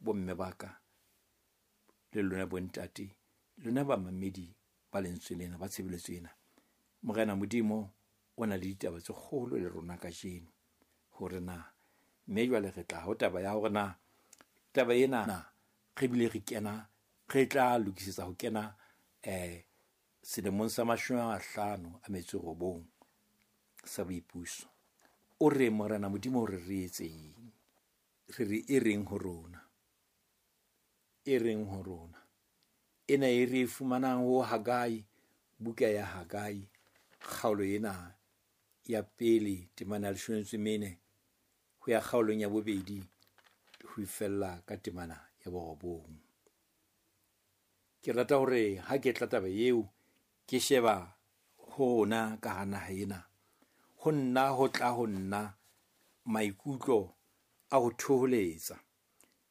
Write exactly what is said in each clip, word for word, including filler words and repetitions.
Bomme ba ka le lona bontate, lona bamamedi ba lentswe lena, ba tshebeletso ena. Morena Modimo o na le ditaba tse kgolo le rona kajeno hore na mme jwale re tla ho taba ya hore na taba ena re bile re kena, re tla lokisetsa ho kena eh selemong sa mashome a mahlano a metso e robong sa boipuso. O re Morena Modimo o re re etseng? Re re e reng ho rona? E reng ho rona? Ena e re e fumanang ho Hagai, buka ya Hagai, kgaolo ena ya pele temana ya leshome le metso e mene ho ya kgaolong ya bobedi ho fella ka temana ya borobong. Ke rata hore ha ke tla taba eo ke sheba ho rona ka hara naha ena, ho nna ho tla ho nna maikutlo a ho thoholetsa.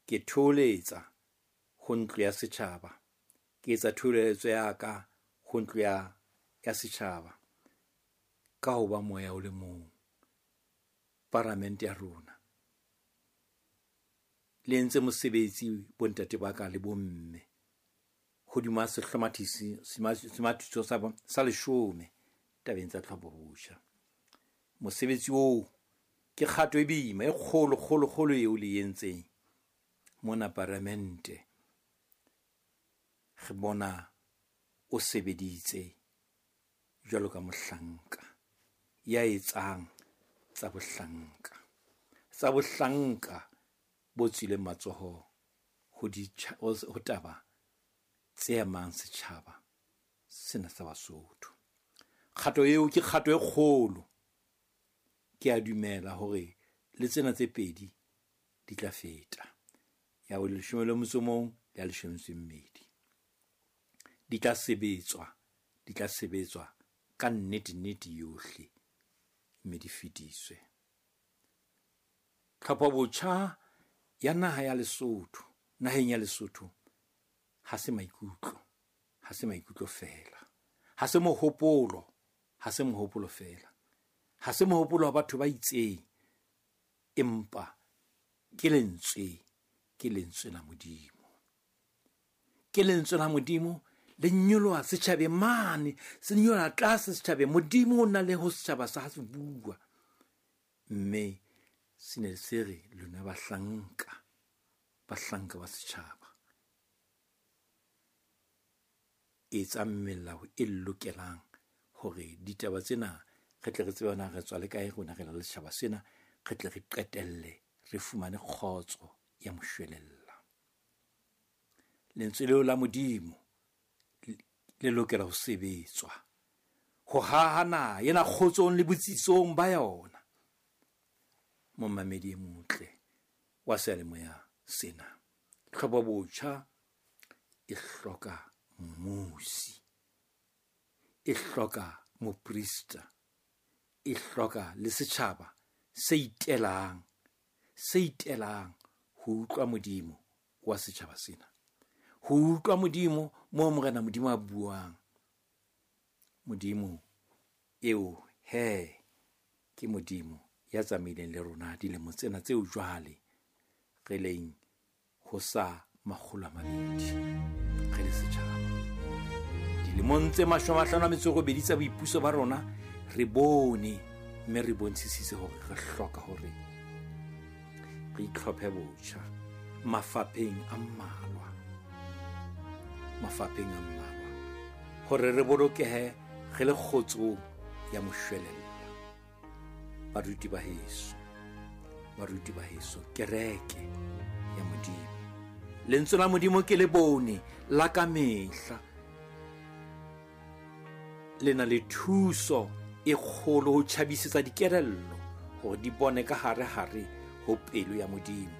Ke thoholetsa ho ntlo ya setjhaba. Ke etsa thoholetso ya ka ho ntlo ya, ya setjhaba ka ho ba moya o le mong. Paramente ya rona le entse mosebetsi bontate ba ka le bomme hodima sehlomathisi semathiso sa, sa leshome tabeng tsa tlhopho botjha. Mosebetsi oo ke kgato e boima e kgolo kgolo kgolo eo le entseng mona paramente. Re bona o sebeditse jwalo ka mohlanka ya etsang tsa bohlanka, tsa bohlanka bo tswileng matsoho ho ditjha, ho taba tse amang setjhaba sena sa Basotho. Kgato eo ke kgato e kgolo. Ke a dumela hore le tsena tse pedi di tla feta, ya bo leshome le motso o mong le ya leshome le metso e mmedi. Di tla sebetswa, di tla sebetswa ka nnete nnete yohle mme di fetiswe. Tlhopho botjha ya naha ya Lesotho, naheng ya Lesotho ha se maikutlo, ha se maikutlo feela, ha se mohopolo, ha se mohopolo feela, ha se mohopolo wa batho ba itseng, empa ke lentswe, ke lentswe la Modimo. Ke lentswe la Modimo le nyoloha setjhabeng mane, se nyoloha tlase setjhabeng. Modimo o na le ho setjhaba sa se bua. Mme se ne se re lona bahlanka, bahlanka ba setjhaba, etsang melao e lokelang hore ditaba tsena re tle re tsebe na re tswa le kae rona re le setjhaba sena, re tle re qetelle re fumane kgotso ya moshwelella. Lentswe leo la Modimo le lokela ho sebetswa ho haha naha ena kgotsong le botsitsong ba yona. Momamedi e motle wa seyalemoya sena, tlhopho botjha e hloka mmusi, e hloka moprista, e hloka le setjhaba se itelang, se itelang ho utlwa Modimo wa setjhaba sena, ho utlwa Modimo moo Morena Modimo a buang. Modimo eo he ke Modimo ya tsamaileng le rona dilemo tsena tseo jwale re leng ho sa makgolo a mabedi re le setjhaba. Dilemong tse mashome a mahlano a metso e robedi tsa boipuso ba rona re bone mme re bontshisitse hore re hloka hore re itlhophe botjha mafapheng a mmalwa, mafapheng a mmalwa hore re bolokehe re le kgotsong ya moshwelella. Baruti ba heso, baruti ba heso, kereke ya Modimo, lentswe la Modimo ke le bone la ka mehla, le na le thuso e kgolo ho tjhabisetsa dikelello hore di bone ka hare hare ho pelo ya Modimo,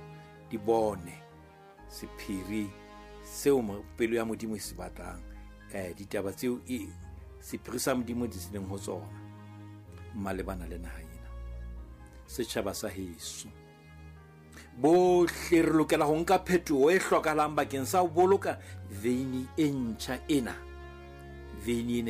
di bone sephiri seo pelo ya Modimo e se batlang, eh ditaba tseo e sephiri sa Modimo di leng ho tsona malebana le naha ena. Setjhaba sa heso bohle re lokela ho nka phetoho e hlokahalang bakeng sa ho boloka veini e ntjha ena, veini ena